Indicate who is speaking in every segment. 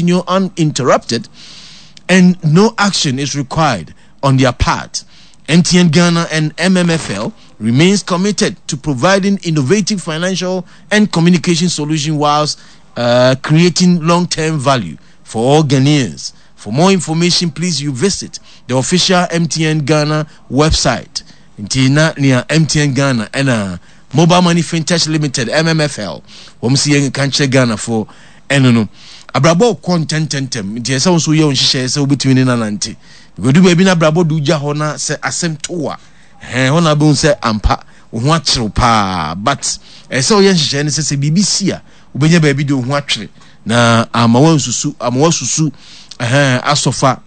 Speaker 1: continue uninterrupted and no action is required on their part. MTN Ghana and MMFL remains committed to providing innovative financial and communication solutions whilst creating long-term value for all Ghanaians. For more information, please you visit the official MTN Ghana website. Nti na nea MTN Ghana ɛna Mobile Money Fintech Limited MMFL wɔn si yɛn nka nkyerɛ Ghanafoɔ ɛno no. Abrabɔ kɔ ntɛntɛntɛm nti ɛsɛ wo nso yɛ wo nhyehyɛeɛ sɛ wobɛtumi ne nanante. Because du baabi na abrabɔ de wogya hɔ na sɛ asɛm to a ɛhɛn hɔ na wobɛhu sɛ ampa wo ho akyerew paa but ɛsɛ sɛ woyɛ nhyehyɛeɛ no sɛ sɛ biribi si a wobɛnya baabi de wo ho atwere na ama wansusu ama wasusu ɛhɛn asɔfa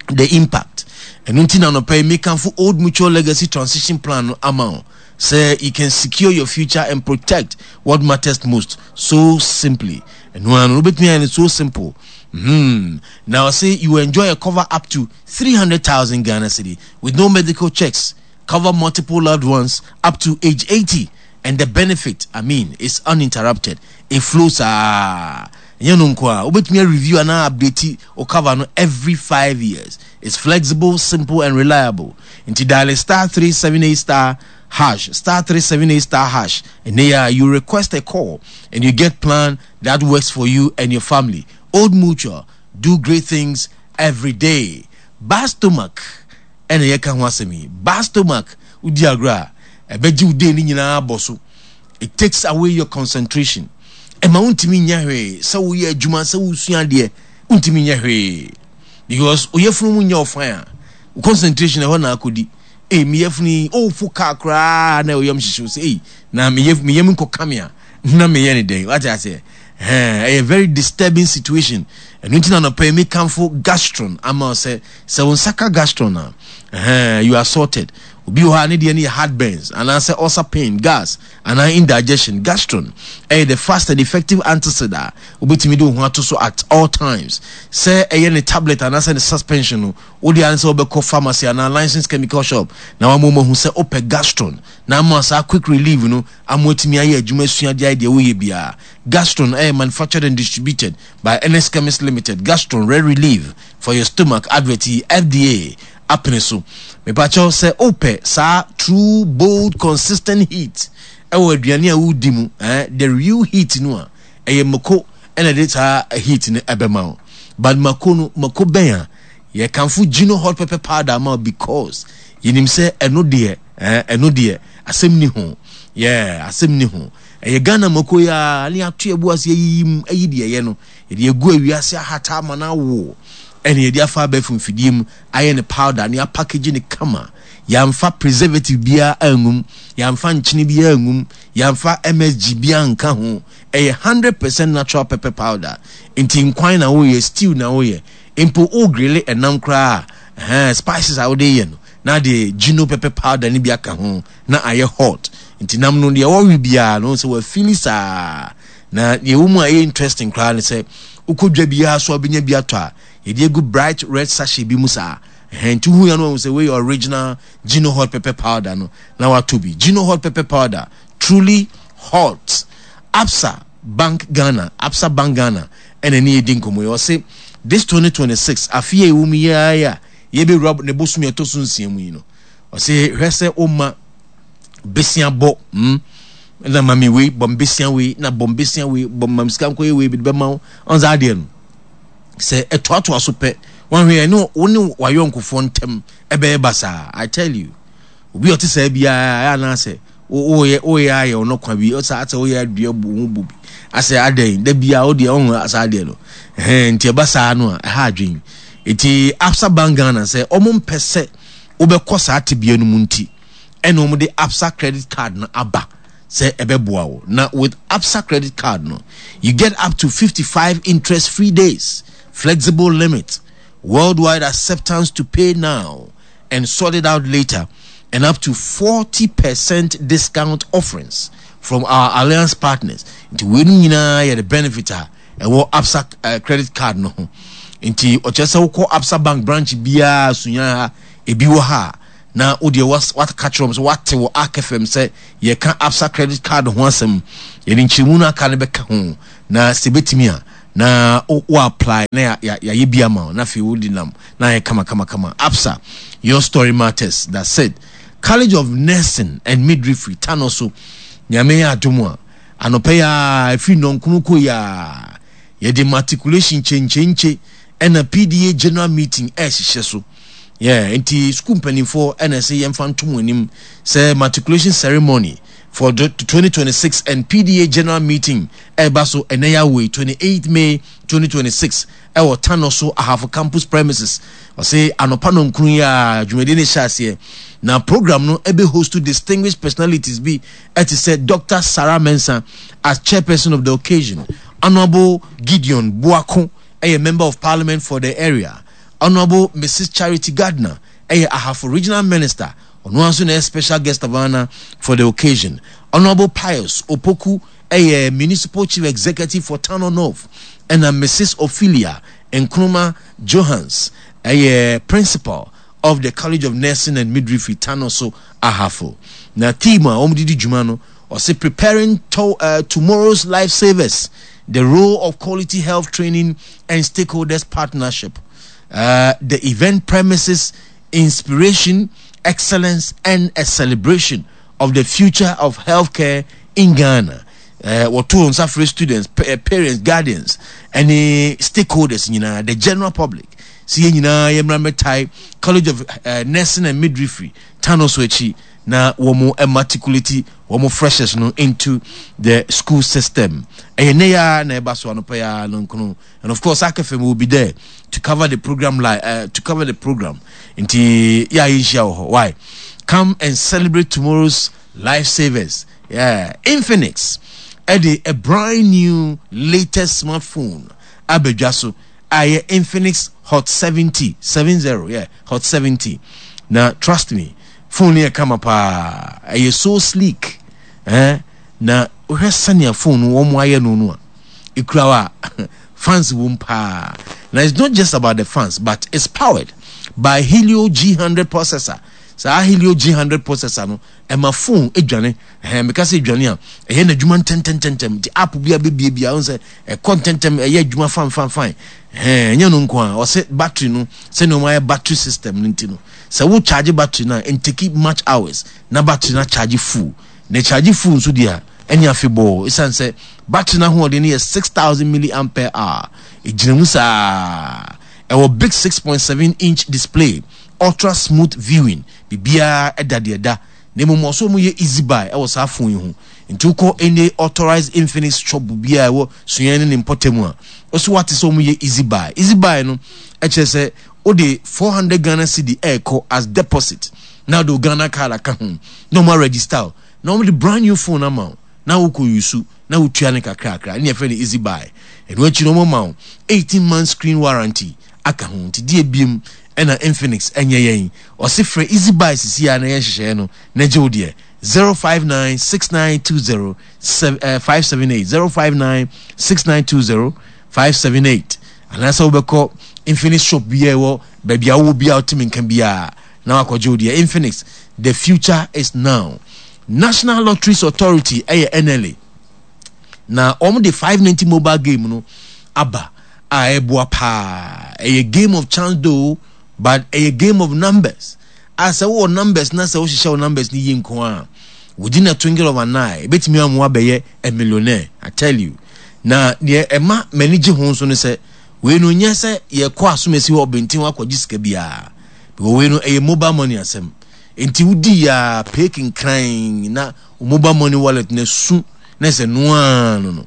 Speaker 1: the impact ɛno nti na nɔpɛ yi mekamfo old mutual legacy transition plan no ama wo sɛ you can secure your future and protect what matters most so simply ɛno ano no wobɛtumi ayɛ no so simple Now say you enjoy a cover up to 300,000 Ghana cedi with no medical checks cover multiple loved ones up to age 80 and the benefit I mean is uninterrupted it flows ah ɛnyɛ no nko a wobɛtumi review anaa update o cover no every 5 years. It's flexible, simple and reliable. Nti dial *378 star hash, *378 star hash, and there you request a call and you get plan that works for you and your family. Old Mutual, do great things every day. Bad stomach ɛna yɛka ho asɛm yi. Bad stomach wodi agorɔ a ɛbɛgye wo day no nyinaa bɔ so. It takes away your concentration. Ɛma wontumi nyɛ hwee sɛ woyɛ adwuma sɛ wosua adeɛ wontumi nyɛ hwee because oyɛfunu mu nyɛ ɔfan a wo concentration ɛhɔ na akɔdi. Ee meyɛfunu yi ɔwofo kaa koraa na ɔyam hyehyew sɛ ei na meyɛ meyam nkɔka me a na meyɛ ne dɛn wate aseɛ ɛhɛn ɛyɛ very disturbing situation. Ɛno nti na nɔpɛ yi mekamfo gastron ama wo sɛ sɛ wo nsa ka gastron a ɛhɛn you are sorted. Obi wɔ hɔ a ne deɛ no yɛ heartburns anaasɛ ulcer pain, gas anaa indigestion. Gastron ɛyɛ the fast and effective antacid a wobɛtumi de wo ho ato so at all times. Sɛ ɛyɛ ne tablet anaasɛ ne suspension no wo deɛ ane sɛ wobɛkɔ pharmacy anaa licensed chemical shop na wama wɔn ahu sɛ wopɛ gastron na ama saa quick relief no ama watumi ayɛ adwuma asua de ayɛ deɛ woyɛ biara. Gastron ɛyɛ manufactured and distributed by Ernest Chemist Limited. Gastron Red Relief for your stomach advert yi FDA apene so. Mepakyɛw sɛ wopɛ saa true bold consistent heat ɛwɔ aduane a wodi mu eh, the real heat no a ɛyɛ mako ɛna ɛde saa heat no ɛbɛma wo. But mako no mako bɛn a yɛkamfo Gino hot pepper powder ama wo because yɛnim sɛ ɛno deɛ eh, ɛno deɛ asɛm ni ho. Yeah, asɛm ni ho. Ɛyɛ Ghana mako yi ara ne yɛato yɛbo ase ayiyi mu ayi deɛ ɛyɛ no yɛde agu awiase ahata ama no awo ɛne yɛde afa abɛɛfo mfidie mu ayɛ ne powder ne apackage ne kama. Yɛamfa preservative biara angum, yɛamfa nkyene biara angum, yɛamfa MSG biara nka ho. Ɛyɛ 100% natural pepper powder. Nti nkwan na woyɛ, stew na woyɛ, mpo wo grille ɛnam koraa a, ɛhɛn, spices a wode yɛ no na de Gino pepper powder no bi aka ho na ayɛ hot. Nti nam no deɛ wɔwe biara no sɛ wafili saa. Na deɛ ɛwɔ mu a ɛyɛ interesting koraa ne sɛ wokɔ dwa biara so a wobɛnya bi atɔ a yɛde agu bright red sachet bi mu saa. Ɛhɛn, nti wohu ya no wahu sɛ wei yɛ original Gino hot pepper powder no na watɔ bi. Gino hot pepper powder, truly hot. Absa Bank Ghana, Absa Bank Ghana ɛna ne yɛdi nkɔmmɔ yi. Ɔse this 2026 afe a ɛwɔ mu yi ara yi a yɛbɛwura ne bosome a ɛtɔ so nsia mu yi no, ɔse hwɛ sɛ woma besia bɔ na mami wei bɔ mbesia wei na bɔ mbesia wei bɔ mam sika nkɔyɛ wei bi de bɛma wo ɔn saa adeɛ no sɛ ɛtoatoa so pɛ wɔnhwɛ yɛn ne wo ne wayɔnkofoɔ ntɛm ɛbɛyɛ basaa. I tell you, obi a ɔte saa biara ɛyɛ anaasɛ woyɛ woyɛ ayɛ ɔno kwa bi ɔsɛ asɛ woyɛ adua bu ho bu bi asɛ adɛn da biara wodeɛ ɔho saa adeɛ no ɛhɛn nti ɛba saa no a ɛha adwen. Nti Absa Bank Ghana sɛ ɔmo mpɛ sɛ wobɛkɔ saa tebea no mu nti ɛna ɔmo de Absa credit card no aba sɛ ɛbɛboa wo. Na with Absa credit card no you get up to 55 interest free days, flexible limit, worldwide acceptance to pay now and sort it out later, and up to 40% discount offerings from our alliance partners. Nti weinom nyinaa yɛ the benefit a ɛwɔ Absa credit card no ho. Nti ɔkyerɛ sɛ wokɔ Absa Bank branch biara sunya ha ebi wɔ ha a na wo deɛ waka kyerɛ wɔn sɛ wate wɔ Ark FM sɛ yɛka Absa credit card ho asɛm. Yɛde nkyerɛmu no aka no bɛka ho na sɛ ebetumi a. Na wo apply na yɛayɛ bi ama wo na afei wode nam na ayɛ kama kama kama. Absa, your story matters. That's it. College of Nursing and Midwifery, Tano so. Nyame yɛ adom a, anɔpa yi ara, ɛfiri nnɔnkono kɔ yi ara, yɛde matriculation kyenkyenkye ɛna PDA general meeting ɛrehyehyɛ so. Yeah, nti sukuu mpanimfoɔ ɛna ɛsɛ yɛmfa nto mo anim sɛ matriculation ceremony for the 2026 and PDA general meeting ɛreba so ɛnɛ yɛ awoi 28 May 2026 ɛwɔ Tanoso Ahafo campus premises. Ɔse anɔpa nɔnkron yi a dwumadie no hyɛ aseɛ na program no ɛbɛ host distinguished personalities bi ɛte sɛ Dr. Sarah Mensah as chairperson of the occasion, Honourable Gideon Boako ɛyɛ member of parliament for the area, Honourable Mrs. Charity Gardner ɛyɛ Ahafo regional minister, ɔno ara nso na ɛyɛ special guest of honour for the occasion. Honourable Pius Opoku ɛyɛ municipal chief executive for Tano North, ɛna Mrs. Ophelia Nkrumah Johans ɛyɛ principal of the College of Nursing and Midwifery Tano so Ahafo. Na theme a wɔn de di dwuma no, ɔse preparing to, tomorrow's lifesavers, the role of quality health training and stakeholders partnership. The event premises inspiration, excellence, and a celebration of the future of healthcare in Ghana. Wɔto nsa frɛ students, parents, guardians, ɛne stakeholders nyinaa, the general public. Sɛ yɛn nyinaa yɛmmra mmɛtae College of Nursing and Midwifery Tano so akyi na wɔn matriculate wɔn freshers no into the school system. Ɛyɛ nnɛ yi ara na ɛba so anɔpa yi ara no nkono. And of course, Akefem will be there to cover the program live, to cover the program. Nti yɛ a yɛnhyia wɔ hɔ. Why? Come and celebrate tomorrow's lifesavers. Yeah, Infinix ɛde a brand new latest smartphone abɛdwa so a ɛyɛ Infinix Hot 70, 70, yeah, Hot 70. Na trust me, phone no yɛ kama paa. Ɛyɛ so sleek. Eh? Na wohwɛ sɛnea phone no wɔn ayɛ no no a, ekura wo a, fans wom paa. Na it's not just about the fans, but it's powered by Helio G100 processor. Saa Helio G100 processor no, ɛma phone dwane. Ɛhɛn, meka sɛ dwane a, ɛyɛ n'adwuma ntɛntɛntɛntɛm. Nti app bi a bɛbie bi a, wohu sɛ ɛkɔ ntɛntɛm, ɛyɛ adwuma fan fan fan. Ɛhɛn, ɛnyɛ no nko a, ɔse battery no, sɛnea wɔn ayɛ battery system no nti no, sɛ wo charge battery no a, ɛntake much hours na battery no acharge full. Na ɛcharge full nso deɛ a, ɛne afebɔɔ. Esiane sɛ battery no ahoɔden no yɛ 6000 milliampere hour, ɛgyina mu saa. Ɛwɔ big 6.7 inch display, ultra smooth viewing, biribiara ɛda deɛ ɛda. Na mmom ɔsɛ wɔn yɛ easy buy ɛwɔ saa phone yi ho. Nti wokɔ any authorized Infinix shop biara ɛwɔ Sunyani ne ne mpɔtam a, ɔsɛ wate sɛ wɔn yɛ easy buy. Easy buy no ɛkyerɛ sɛ wode 400 Ghana cedi ɛrekɔ as deposit na wode wo Ghana card aka ho na wɔn aregister wo na wɔn de brand new phone ama wo na wokɔ use na wotua no kakrakra ɛne yɛfrɛ no easy buy. Ɛno akyi no wɔn ma wo 18 month screen warranty aka ho. Nti deɛ biem ɛna Infinix ɛnyɛ yɛn. Ɔse frɛ easy buy sisi a na yɛ nhyehyɛeɛ no na gye wo deɛ 059 6920 578 059 6920 578 anaasɛ wobɛkɔ Infinix shop biara ɛwɔ baabi a wowɔ biara wotumi nka biara na wakɔgye wo deɛ. Infinix, the future is now. National Lotteries Authority ɛyɛ NLA na wɔn de 590 mobile game no aba a ɛboa paa. Ɛyɛ game of chance though, but ɛyɛ game of numbers. A sɛ wowɔ numbers na sɛ wohyehyɛ wo numbers no yie nko a, within a twinkle of an eye, ebetumi ama wabɛyɛ a millionaire. I tell you. Na deɛ ɛma m'ani gye ho nso ne sɛ, wei no nyɛ sɛ yɛkɔ asomasi hɔ ɔbɛnten hɔ akɔgye sika biara. Because wei no ɛyɛ mobile money asɛm. Nti wodi ya pay kenkran na mobile money wallet na su na sɛ noa no no.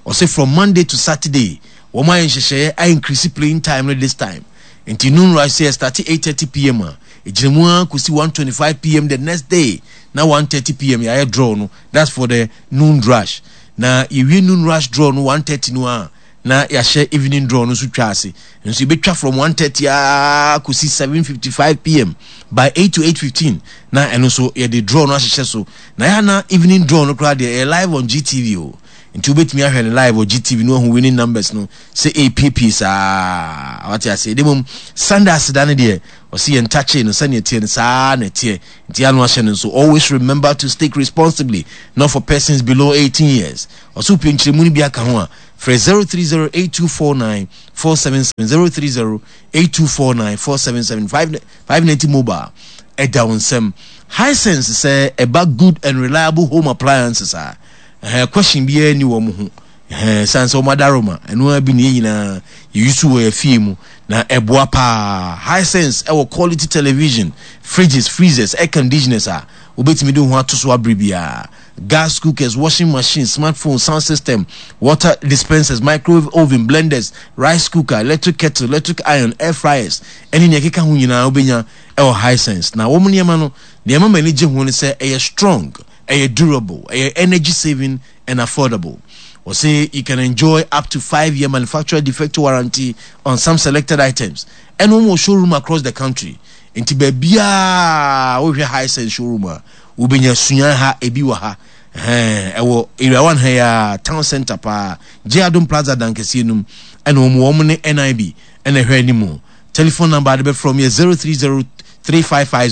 Speaker 1: Ɔse from Monday to Saturday, wɔn ayɛ nhyehyɛeɛ a increase playing time no this time. Nti noon rush sɛ yɛ start 8:30 pm a, ɛgyina mu ara kɔsi 1:25 pm the next day na 1:30 pm yɛayɛ draw no. That's for the noon rush. Na yɛwie noon rush draw no 1:30 no a, na yɛahyɛ evening draw no nso twa ase. Nso yɛbɛtwa from 1:30 ara kɔsi 7:55 pm by 8 to 8:15 na ɛno nso yɛde draw no ahyehyɛ so. Na yɛ na evening draw no koraa deɛ ɛyɛ live on GTV o. Nti wobɛtumi ahwɛ no live wɔ GTV no ahu winning numbers no sɛ ɛrepiepie saa. Wate aseɛ. De mmom Sunday aseda no deɛ ɔse yɛn ntakyee no sɛnea ɛteɛ no saa na ɛteɛ. Nti ano ahyɛ no nso. Always remember to stake responsibly, not for persons below 18 years. Ɔse wopɛ nkyerɛmu no bi aka ho a, Frɛ 030 8249 477 030 8249 477 590 mobile ɛda wo nsam. Hisense sɛ ɛba good and reliable home appliances a, ɛhɛn question biara nni wɔn ho. Ɛhɛn san sɛ wɔn adaroma ɛno ara bi ne yɛn nyinaa yɛyi so wɔ yɛn fie mu na ɛboa paa. Hisense ɛwɔ quality television, fridges, freezers, air conditioners a wobɛtumi de wo ho ato so abere biara. Gas cookers, washing machines, smartphone, sound system, water dispensers, microwave oven, blenders, rice cooker, electric kettle, electric iron, air fryers, ɛne nea ɛkeka ho nyinaa wobɛnya ɛwɔ Hisense. Na wɔn nneɛma no, nea ɛma m'ani gye ho ne sɛ ɛyɛ strong, ɛyɛ durable, ɛyɛ energy saving and affordable. Wɔse you can enjoy up to 5-year manufacturer defect warranty on some selected items. Ɛna wɔn wɔ showroom across the country. Nti baabiara wohwɛ Hisense showroom a, wobɛnya sua ha, ebi wɔ ha. Ɛhɛn, ɛwɔ Area 1 ha yi ara, town center paa, J Adom Plaza dan kɛseɛ no mu, ɛna wɔn wɔn ne NIB ɛna ɛhwɛ anim. Telephone number a de bɛfrɛ wɔn yɛ 030 355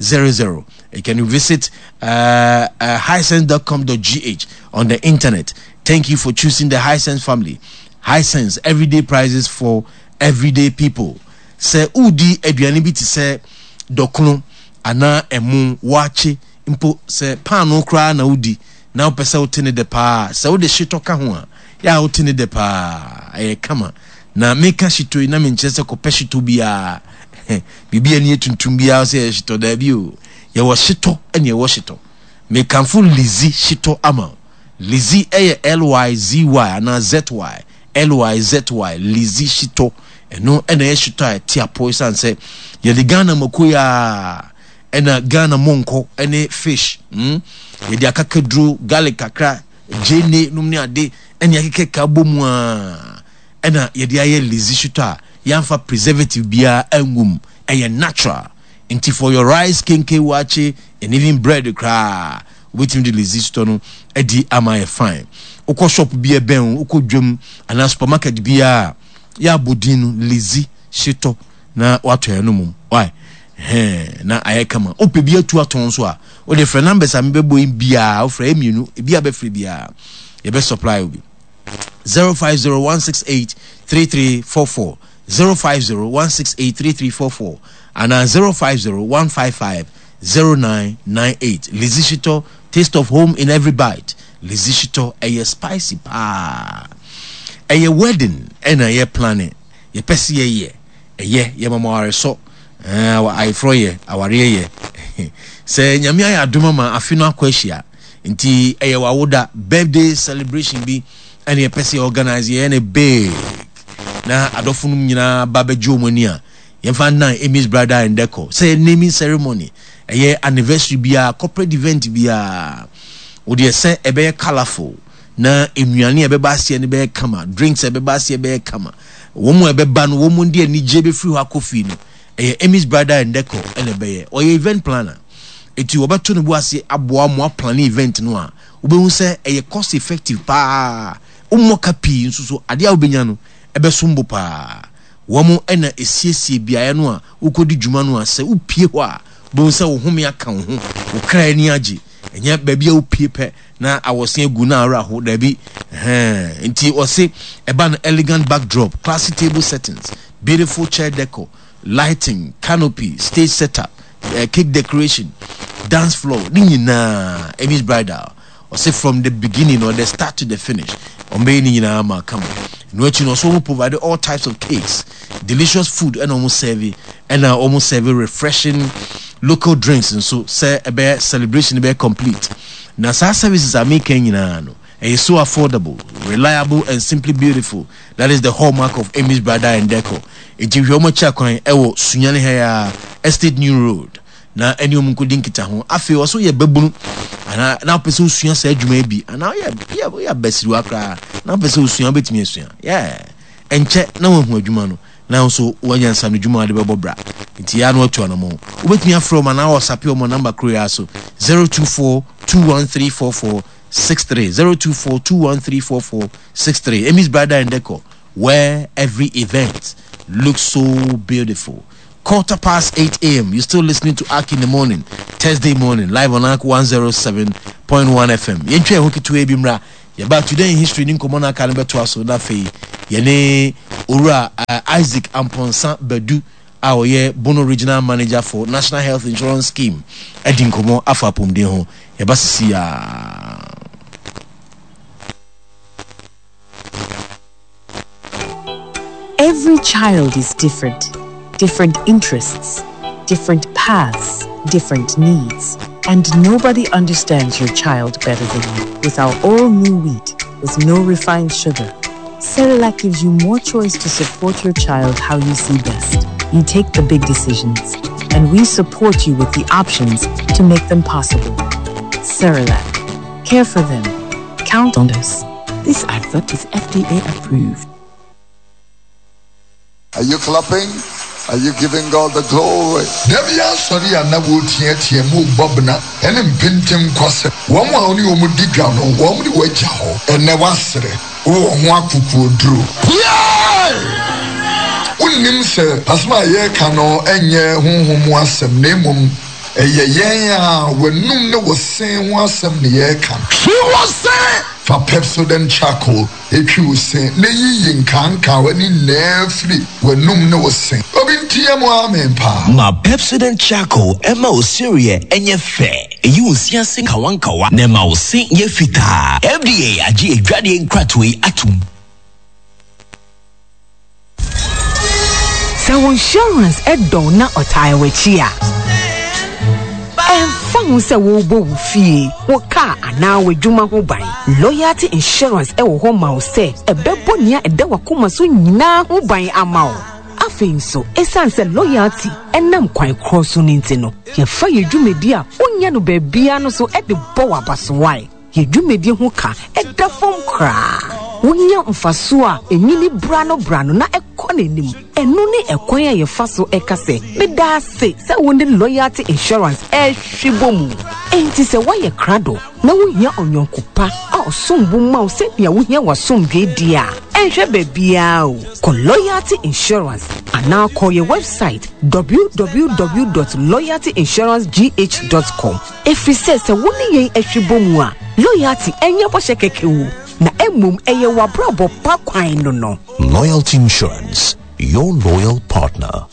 Speaker 1: 0000. You can visit hisense.com.gh on the internet. Thank you for choosing the Hisense family. Hisense, everyday prices for everyday people. Sɛ wodi aduane bi te sɛ dɔkono anaa ɛmo, waakye, mpo sɛ paanoo koraa na wodi na wopɛ sɛ wote ne dɛ paa a, sɛ wode hyetɔ ka ho a, yɛ a wote ne dɛ paa. Ɛyɛ kama. Na meka hyetɔ yi na menkyerɛ sɛ kɔpɛ hyetɔ biara. Biribi a ani yɛ tuntum biara sɛ ɛyɛ hyetɔ. Daabi o. Yɛwɔ hyetɔ ɛne ɛwɔ hyetɔ. Mekamfo Lizzy hyetɔ ama wo. Lizzy yɛ L-Y-Z-Y anaa Z-Y. L-Y-Z-Y, Lizzy hyetɔ. Ɛno na ɛyɛ hyetɔ a ɛte apɔ esiane sɛ yɛde Ghana mako yi ara ɛna Ghana mɔnkɔ ne fish, mm, yɛde akakaduro, garlic kakra, gyeene nom ne ade ɛne akekeka bɔ mu ara ɛna yɛde ayɛ Lizzy hyetɔ a yɛamfa preservative biara angu mu. Ɛyɛ natural. Nti for your rice, kenke, waakye and even bread koraa wobɛtumi de Lizzy hyetɔ no adi ama ayɛ fine. Wokɔ shop bi a ɛbɛn wo, wokɔ dwam anaa supermarket biara a, yɛ abɔ din no Lizzy hyetɔ na woatɔ ɛno mmom. Why? Hɛn, na ayɛ kama. Wopɛ bi atu atɔn nso a, wode frɛ numbers a mebɛbɔ yi biara, wofrɛ ɛyɛ mmienu, ebi a bɛfrɛ biara, yɛbɛ supply wo bi. 0501683344, 0501683344 anaa 0501550998. Lizzy Shitɔ, taste of home in every bite. Lizzy Shitɔ, ɛyɛ spicy paa. Ɛyɛ wedding ɛna yɛ planning, yɛpɛ sɛ yɛyɛ, ɛyɛ, yɛma mo awaresɔ, ɛɛ, ayeforɔ yɛ, awareɛ yɛ. Sɛ Nyame ayɛ adom ama afe no akɔ ahyia, nti ɛyɛ w'awoda, birthday celebration bi ɛna yɛpɛ sɛ yɛ organize, yɛyɛ no big, na adɔfo nom nyinaa ba bɛgye wɔn ani a, yɛmfa nnan Amy's Bridal and Decor. Sɛ yɛ naming ceremony, ɛyɛ anniversary biara, corporate event biara, wodeɛ sɛ ɛbɛyɛ colourful, na nnuane a ɛbɛba aseɛ no bɛyɛ kama, drinks a ɛbɛba aseɛ bɛyɛ kama, wɔn a ɛbɛba no wɔn de anigyeɛ bɛfiri hɔ akɔ fie no, ɛyɛ Amy's Bridal and Decor ɛna ɛbɛyɛ. Ɔyɛ event planner, eti wɔbɛto ne bo ase aboa mo aplane event no a, wobɛhu sɛ ɛyɛ cost effective paa, wommɔ ka pii nso so adeɛ a wobɛnya no ɛbɛsom bo paa. Wɔn na ɛsiesie beaeɛ no a wokɔdi dwuma no a sɛ wopue hɔ a wobɛhu sɛ wo home aka wo ho, wo kra ani agye, ɛnyɛ baabi a wopue pɛ na awɔse agu na awerɛ aho, daabi, ɛhɛn. Nti wɔse ɛba no elegant backdrop, classy table settings, beautiful chair decor, lighting, canopy, stage setup, cake decoration, dance floor, ne nyinaa Amy's Bridal. Ɔse from the beginning or the start to the finish, ɔmbɛyɛ ne nyinaa ama kama. Ɛno akyi no ɔso ɔmo provide all types of cakes, delicious food ɛna ɔmo serve, ɛna ɔmo serve refreshing local drinks nso sɛ ɛbɛyɛ celebration bɛyɛ complete. Na saa services a meka nyinaa no, ɛyɛ so affordable, reliable and simply beautiful. That is the hallmark of Amy's Bridal and Decor. Enti hwɛ ɔmo akyi akwan ɛwɔ Sunyani ha yi ara, Estate New Road. Na ɛne wɔn nkɔdi nkitaho. Afei ɔsɛ woyɛ babunu anaa na wopɛ sɛ wosua saa adwuma yi bi anaa woyɛ woyɛ woyɛ abasiriwa koraa na wopɛ sɛ wosua wobɛtumi asua. Yeah. Ɛnkyɛ na woahu adwuma no na nso woanya nsano dwuma a wode bɛbɔ bra. Nti yɛ a na woatu anamɔn. Wobɛtumi afrɛ wɔn anaa wɔsape wɔn wɔ namba koro yi ara so, 024 213 4463, 024 213 4463. Amy's Bridal and Decor, where every event looks so beautiful. 8:15 a.m. You're still listening to Ark in the Morning, Thursday morning, live on Ark 107.1 FM. Yɛntwa ɛho ketewa bi mmra. Yɛba Today in History ne nkɔmmɔ no aka no bɛtoa so na afei yɛne Owura Isaac Amponsah Badu a ɔyɛ Bono Regional Manager for National Health Insurance Scheme adi nkɔmmɔ afa apɔmuden ho. Yɛba sisi a.
Speaker 2: Every child is different. Different interests, different paths, different needs. And nobody understands your child better than you. With our all new wheat, with no refined sugar, Cerelac gives you more choice to support your child how you see best. You take the big decisions, and we support you with the options to make them possible. Cerelac. Care for them. Count on us.
Speaker 3: This advert is FDA approved.
Speaker 4: Are you clapping? Are you giving God the glory?
Speaker 5: Da bi asɔre a na wɔreteatea mu rebɔ bena ne mpenten kwasɛm. Wɔn a wo ne wɔn di dwa no, wɔn de wo agya hɔ. Ɛnnɛ woasere, wowɔ ho akokoɔduro. Piae! Wonnim sɛ asɛm a yɛreka no nyɛ honhom mu asɛm, na mmom ɛyɛ yɛn a w'anum ne wo se ho asɛm na yɛreka no. Twi wo se! Fa Pepsodent Charcoal Twi wo se na yiyi nkaankawa no nyinaa firi w'anum ne wo se. Obi nteɛ mu amen paa.
Speaker 6: Ma Pepsodent Charcoal mma wo sereɛ nyɛ fɛ, ɛyi wo se ase nkawankawa na ɛma wo se yɛ fitaa. FDA agye adwadeɛ nkratoɔ yi atom.
Speaker 3: Sɛ wo insurance dɔ wo na ɔtaa w'akyi a, ɛmfa ho sɛ worebɔ wo fie, wo kaa anaa w'adwuma ho ban, Loyalty Insurance wɔ hɔ ma wo sɛ ɛbɛbɔ nea ɛda w'akoma so nyinaa ho ban ama wo. Afei nso, esiane sɛ Loyalty nam kwan korɔ so no nti no, yɛfa yɛn dwumadi a wonnya no baabiara no so de bɔ wo abasowae. Yɛn dwumadi ho ka da fam koraa. Wonya mfaso a enyini brano-brano na ɛkɔ n'anim. Ɛno ne ɛkwan a yɛfa so ka sɛ, Meda ase sɛ wo ne Loyalty Insurance rehwe bɔ mu. Enti sɛ woayɛ krado na wuhia ɔyɔnko pa a ɔsom bo ma wo sɛnea wuhia w'asomdwoe de a, ɛnhwɛ baabiara o, kɔ Loyalty Insurance anaa kɔ yɛn wɛbsaet www dot loyaltyinsurancegh dot com. Ɛfiri sɛ sɛ wo ne yɛn hwe bɔ mu a, loyalty ɛnyɛ bɔhyɛ kɛkɛ o, na mmom ɛyɛ w'abrabɔ pa kwan no no.
Speaker 6: Loyalty Insurance, your loyal partner.